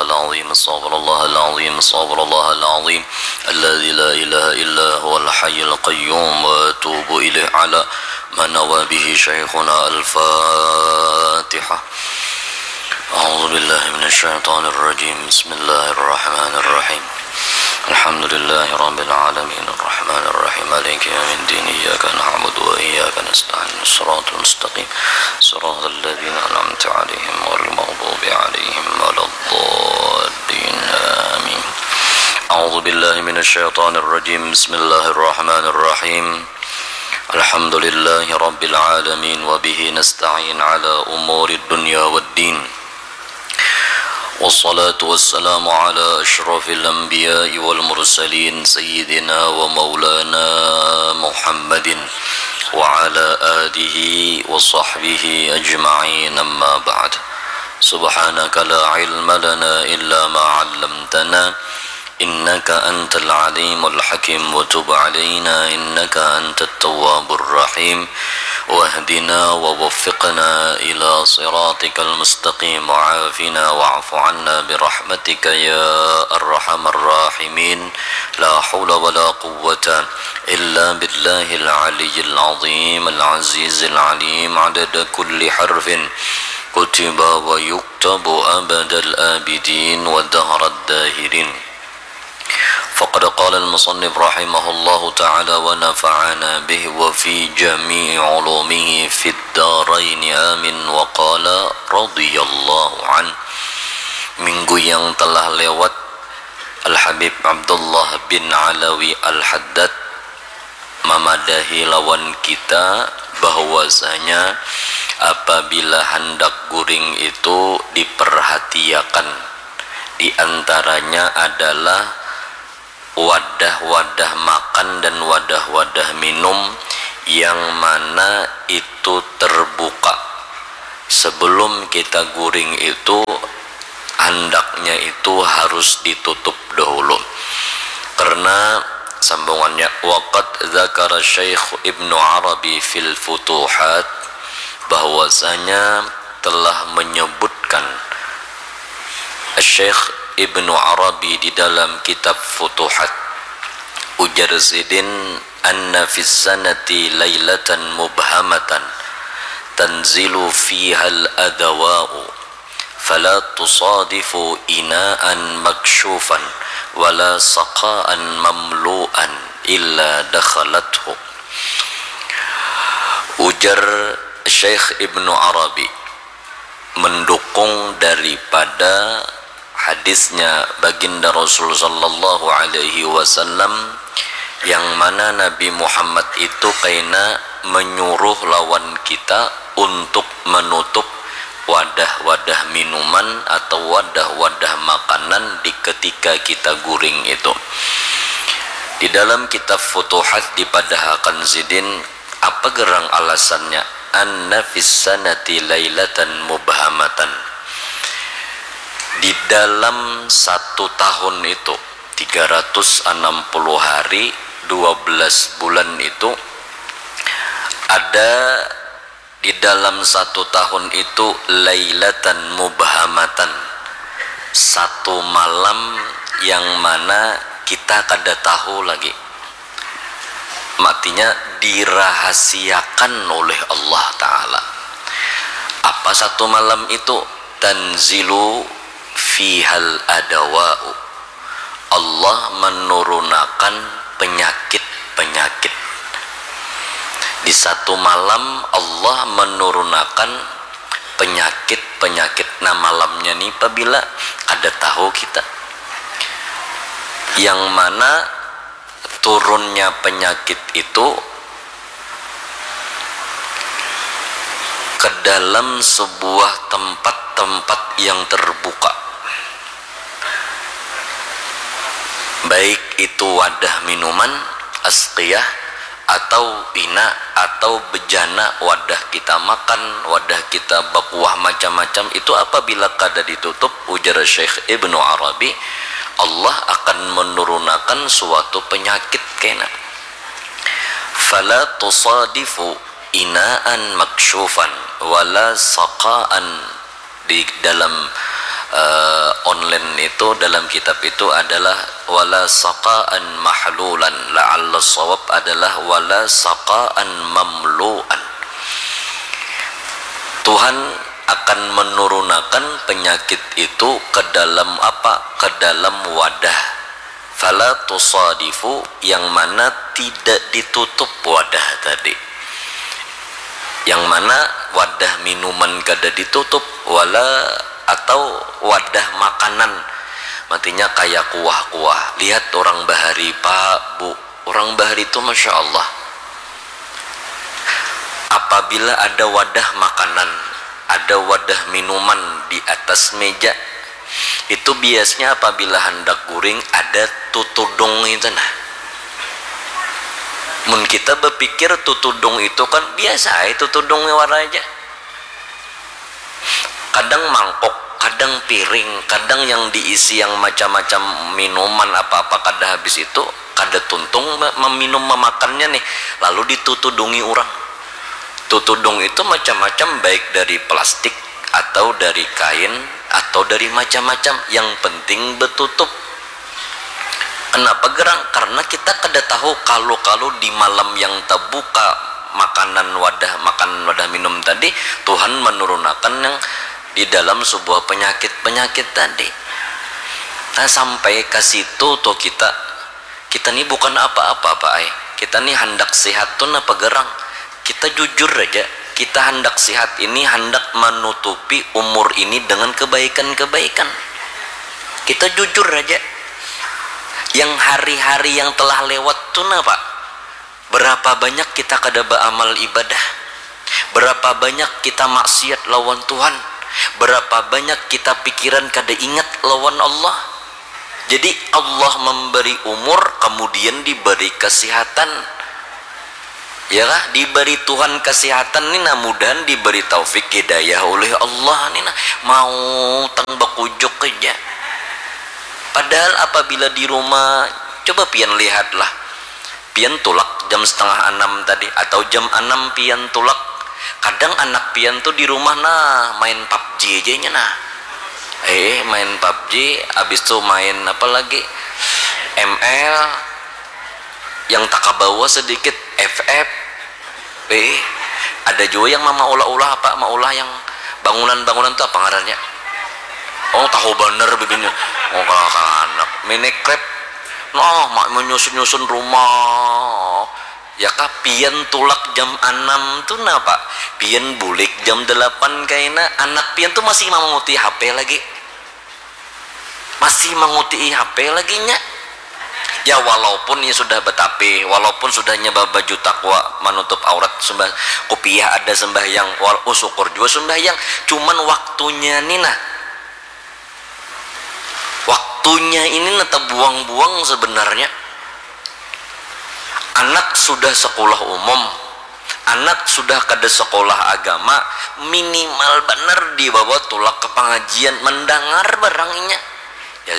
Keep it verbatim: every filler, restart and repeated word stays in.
العظيم، أستغفر الله العظيم، أستغفر الله العظيم الذي لا إله إلا هو الحي القيوم وأتوب إليه على ما نوى به شيخنا. الفاتحة. أعوذ بالله من الشيطان الرجيم. بسم الله الرحمن الرحيم. الحمد لله رب العالمين، الرحمن الرحيم، مالك يوم الدين، إياك نعبد وإياك نستعين، الصراط المستقيم، صراط الذين أنعمت عليهم غير المغضوب عليهم ولا الضالين. آمين. أعوذ بالله من الشيطان الرجيم. بسم الله الرحمن الرحيم. الحمد لله رب العالمين، وبه نستعين على أمور الدنيا والدين. والصلاة والسلام على أشرف الأنبياء والمرسلين، سيدنا ومولانا محمد وعلى آله وصحبه أجمعين. أما بعد، سبحانك لا علم لنا إلا ما علمتنا، إنك أنت العليم الحكيم، وتب علينا إنك أنت التواب الرحيم، واهدنا ووفقنا إلى صراطك المستقيم، وعافنا واعف عنا برحمتك يا أرحم الراحمين. لا حول ولا قوة إلا بالله العلي العظيم العزيز العليم، عدد كل حرف كتب ويكتب أبد الآبدين ودهر الداهرين. فقد قال المصنف رحمه الله تعالى ونفعنا به وفي جميع علومه في الدارين آمين. وقال رضي الله عنه. Minggu yang telah lewat, Al-Habib Abdullah bin Alawi Al-Haddad mamadahi lawan kita bahwasanya apabila handak guring itu diperhatiakan, di antaranya adalah wadah-wadah makan dan wadah-wadah minum yang mana itu terbuka. Sebelum kita guring itu, handaknya itu harus ditutup dahulu. Karena sambungannya, waqad dzakara Syekh Ibnu Arabi fil Futuhat, bahwasanya telah menyebutkan Syekh Ibnu Arabi di dalam kitab Futuhat, ujar sidin, anna fis sanati lailatan mubhamatan tanzilu fihal adawa'u, fala tusadifu inaan maksyufan wala saqaan mamlu'an illa dakhalathu. Ujar Syekh Ibnu Arabi mendukung daripada hadisnya Baginda Rasul sallallahu alaihi wasallam, yang mana Nabi Muhammad itu kaina menyuruh lawan kita untuk menutup wadah-wadah minuman atau wadah-wadah makanan di ketika kita guring itu. Di dalam kitab Futuhat dipadahakan sidin, apa gerang alasannya? Anna fis sanati lailatan mubhamatan. Di dalam satu tahun itu, tiga ratus enam puluh hari, dua belas bulan itu, ada di dalam satu tahun itu lailatan mubhamatan, satu malam yang mana kita kada tahu lagi. Matinya dirahasiakan oleh Allah Ta'ala. Apa satu malam itu? Tanzilu fihal adawa'u. Allah menurunakan penyakit-penyakit. Di satu malam Allah menurunakan penyakit-penyakit. Nah, malamnya ni pabila kada tahu kita. Yang mana turunnya penyakit itu ke dalam sebuah tempat-tempat yang terbuka, baik itu wadah minuman, asqiyah, atau ina, atau bejana wadah kita makan, wadah kita bakuah macam-macam, itu apabila kada ditutup, ujar Syekh Ibnu Arabi, Allah akan menurunakan suatu penyakit kena. Fala tusadifu inaan maksyufan wala saqaan, di dalam Eh, online itu dalam kitab itu adalah wala saqaan mahlulan, la'alla shawab adalah wala saqaan mamluan. Tuhan akan menurunakan penyakit itu ke dalam apa? Ke dalam wadah. Fala tusadifu, yang mana tidak ditutup wadah tadi. Yang mana wadah minuman kada ditutup, wala, atau wadah makanan. Matinya kaya kuah-kuah. Lihat orang bahari, Pak, Bu. Orang bahari itu, Masya Allah. Apabila ada wadah makanan, ada wadah minuman di atas meja, itu biasanya apabila handak guring ada tutudung itu nah. Mun kita berpikir tutudung itu kan biasa aja tutudung wara aja. Kadang mangkok, kadang piring, kadang yang diisi yang macam-macam minuman apa-apa kada habis itu, kada tuntung meminum memakannya nih, lalu ditutudungi orang. Tutudung itu macam-macam, baik dari plastik atau dari kain atau dari macam-macam, yang penting betutup. Kenapa gerang? Karena kita kada tahu kalu-kalu di malam yang terbuka makanan wadah, makan wadah minum tadi, Tuhan menurunakan yang di dalam sebuah penyakit-penyakit tadi. Nah, sampai ke situ tuh kita, kita ni bukan apa-apa, Pak ai. Kita ni handak sehat tuh napa gerang? Kita jujur aja, kita handak sehat ini, handak menutupi umur ini dengan kebaikan-kebaikan. Kita jujur aja. Yang hari-hari yang telah lewat tuh napa? Berapa banyak kita kada beramal ibadah? Berapa banyak kita maksiat lawan Tuhan? Berapa banyak kita pikiran kada ingat lawan Allah? Jadi Allah memberi umur, kemudian diberi kesehatan. Ya kah? Diberi Tuhan kesehatan ni nah, mudahan diberi taufik hidayah oleh Allah ni nah. Mau tang bakujuk aja. Padahal apabila di rumah, coba pian lihatlah. Pian tulak jam setengah anam tadi atau jam anam pian tulak. Kadang anak pian tuh di rumah nah main pubg aja nya nah. Eh, main pubg, habis tuh main apa lagi? M L, yang tak kabawa sedikit, F F. Eh, ada juga yang mama ulah-ulah apa, maulah yang bangunan-bangunan tuh apa ngarannya? Oh, tahu bener bibirnya. Oh, kalau anak Minecraft, nah, mak menyusun-nyusun rumah. Ya kah, pian tulak jam anam tuh napa? Pian bulik jam delapan kaina, anak pian tuh masih manguti H P lagi. Masih manguti H P lagi nya. Ya, walaupun ini sudah betapi, walaupun sudah nya babaju takwa, manutup aurat, sudah kupiah ada sembahyang, wal, oh, syukur juga sembahyang. Cuman waktunya ni nah. Waktunya ini nah terbuang-buang sebenarnya. Anak sudah sekolah umum, anak sudah kada sekolah agama, minimal banar dibawa tulak ke pengajian, mendengar barang inya. Ya,